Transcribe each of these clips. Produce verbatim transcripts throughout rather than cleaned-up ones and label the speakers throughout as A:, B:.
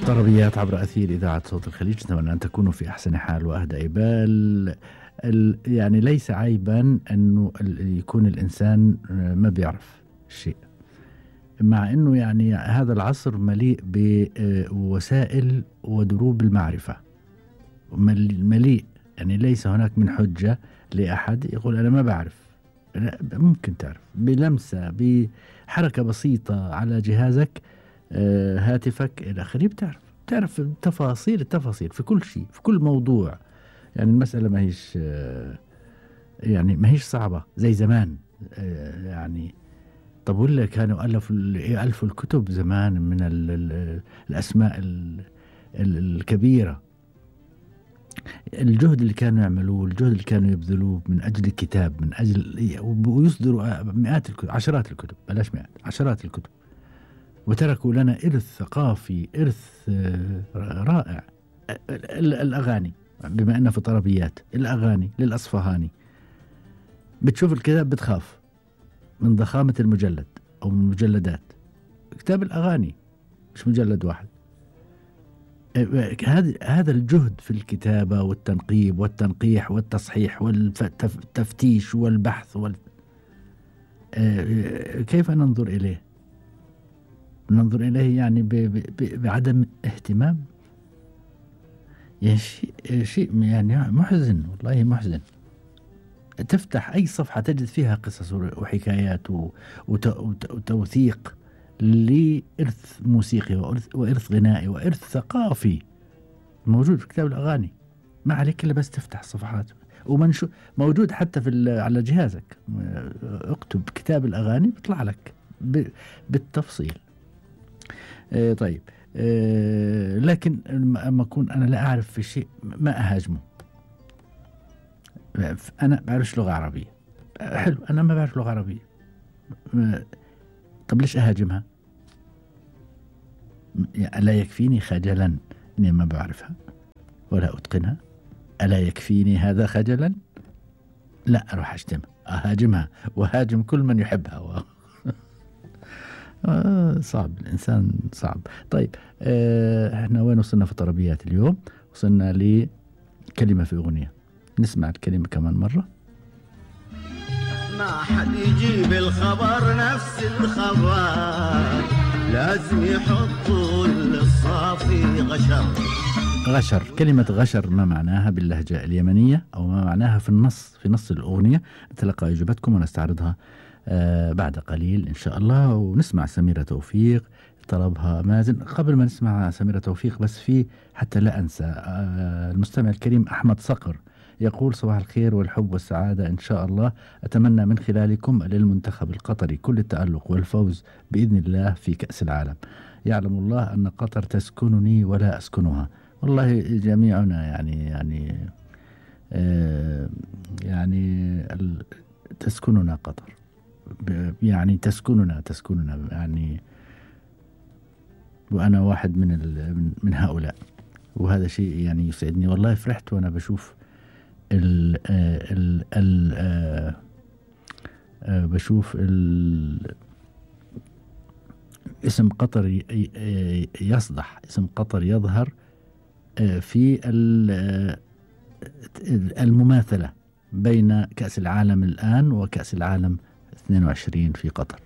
A: طربيات عبر أثير إذاعة صوت الخليج. نتمنى أن تكونوا في أحسن حال وأهدى بال. يعني ليس عيبا أنه يكون الإنسان ما بيعرف شيء، مع أنه يعني هذا العصر مليء بوسائل ودروب المعرفة، مليء، يعني ليس هناك من حجة لأحد يقول أنا ما بعرف. ممكن تعرف بلمسة، بحركة بسيطة على جهازك، هاتفك إلى آخره، بتعرف تعرف تفاصيل التفاصيل في كل شيء، في كل موضوع. يعني المسألة ما هيش يعني ما هيش صعبة زي زمان. يعني طب ولا كانوا ألفوا ألفوا الكتب زمان من ال ال الأسماء ال ال الكبيرة، الجهد اللي كانوا يعملوه، الجهد اللي كانوا يبذلوه من أجل الكتاب، من أجل ويصدروا مئات الكتب، عشرات الكتب، بلاش مئات، عشرات الكتب، وتركوا لنا إرث ثقافي، إرث رائع. الأغاني، بما أننا في طربيات، الأغاني للأصفهاني، بتشوف الكتاب بتخاف من ضخامة المجلد أو من المجلدات. كتاب الأغاني مش مجلد واحد. هذا هذا الجهد في الكتابة والتنقيب والتنقيح والتصحيح والتفتيش والبحث وال... كيف ننظر إليه؟ ننظر إليه يعني ب... ب... بعدم اهتمام. يعني شيء شيء يعني محزن، والله محزن. تفتح أي صفحة تجد فيها قصص وحكايات وتوثيق لإرث موسيقي وإرث, وإرث غنائي وإرث ثقافي موجود في كتاب الأغاني. ما عليك إلا بس تفتح الصفحات، ومنشو موجود حتى في على جهازك، اكتب كتاب الأغاني بيطلع لك بالتفصيل. اه طيب، اه لكن أما أكون أنا لا أعرف في شيء ما أهاجمه. أنا بعرفش لغة عربية، حلو، أنا ما بعرف لغة عربية، طب ليش أهاجمها؟ ألا يكفيني خجلا إني ما بعرفها ولا أتقنها؟ ألا يكفيني هذا خجلا؟ لا، أروح أشتمها، أهاجمها وهاجم كل من يحبها و... آه صعب، الإنسان صعب. طيب، آه احنا وين وصلنا في طربيات اليوم؟ وصلنا لكلمة في أغنية، نسمع الكلمة كمان مرة.
B: ما حد يجيب الخبر نفس الخبر، لازم يحطوا للصافي غشر.
A: غشر، كلمة غشر ما معناها باللهجة اليمنية، أو ما معناها في النص في نص الأغنية؟ نتلقى إجابتكم ونستعرضها آه بعد قليل إن شاء الله. ونسمع سميرة توفيق، طلبها مازن. قبل ما نسمع سميرة توفيق، بس في حتى لا أنسى، آه المستمع الكريم أحمد صقر يقول: صباح الخير والحب والسعادة إن شاء الله. أتمنى من خلالكم للمنتخب القطري كل التألق والفوز بإذن الله في كأس العالم. يعلم الله أن قطر تسكنني ولا أسكنها. والله جميعنا يعني يعني آه يعني تسكننا قطر، يعني تسكننا تسكننا يعني، وأنا واحد من من هؤلاء، وهذا شيء يعني يسعدني. والله فرحت وأنا بشوف ال ال ال بشوف ال اسم قطر يصدح، اسم قطر يظهر في المماثلة بين كأس العالم الآن وكأس العالم اثنين وعشرين في قطر.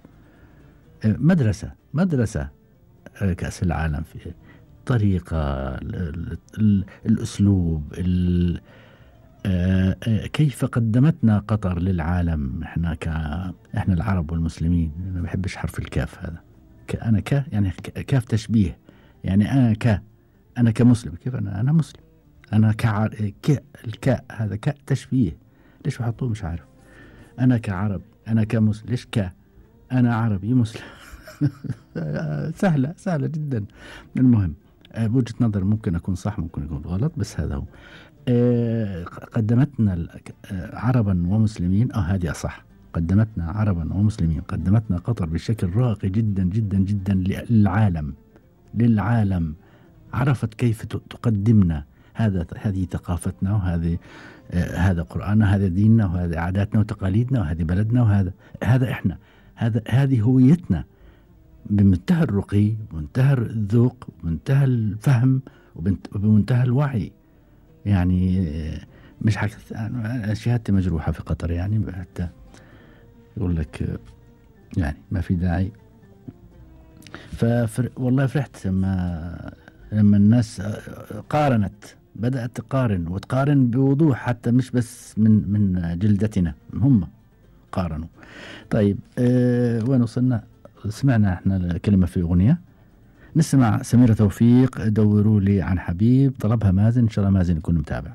A: مدرسة مدرسة كأس العالم، في طريقة، الأسلوب، كيف قدمتنا قطر للعالم. احنا ك احنا العرب والمسلمين، ما بحبش حرف الكاف هذا. انا ك يعني كاف تشبيه، يعني انا ك انا كمسلم، كيف انا انا مسلم، انا كع ك الكاء هذا كاء تشبيه، ليش بحطوه مش عارف. انا كعربي، انا كمسلم، ليش ك انا عربي مسلم. سهلة سهلة جدا. المهم، بوجهة نظر ممكن أكون صح ممكن أكون غلط، بس هذا هو. قدمتنا عربا ومسلمين، أو هذه أصح، قدمتنا عربا ومسلمين، قدمتنا قطر بشكل راقي جدا جدا جدا للعالم للعالم عرفت كيف تقدمنا. هذا هذه ثقافتنا، وهذه هذا قرآننا، هذا ديننا، وهذه عاداتنا وتقاليدنا، وهذه بلدنا، وهذا هذا إحنا، هذا هذه هويتنا. بمنتهى الرقي ومنتهى الذوق ومنتهى الفهم وبمنتهى الوعي. يعني مش حكث شهادتي مجروحة في قطر، يعني حتى يقول لك يعني ما في داعي. ففر والله فرحت لما لما الناس قارنت، بدأت تقارن وتقارن بوضوح، حتى مش بس من من جلدتنا، هم قارنوا. طيب أه وين وصلنا؟ سمعنا احنا كلمة في أغنية، نسمع سميرة توفيق دوروا لي عن حبيب، طلبها مازن، إن شاء الله مازن يكون متابع.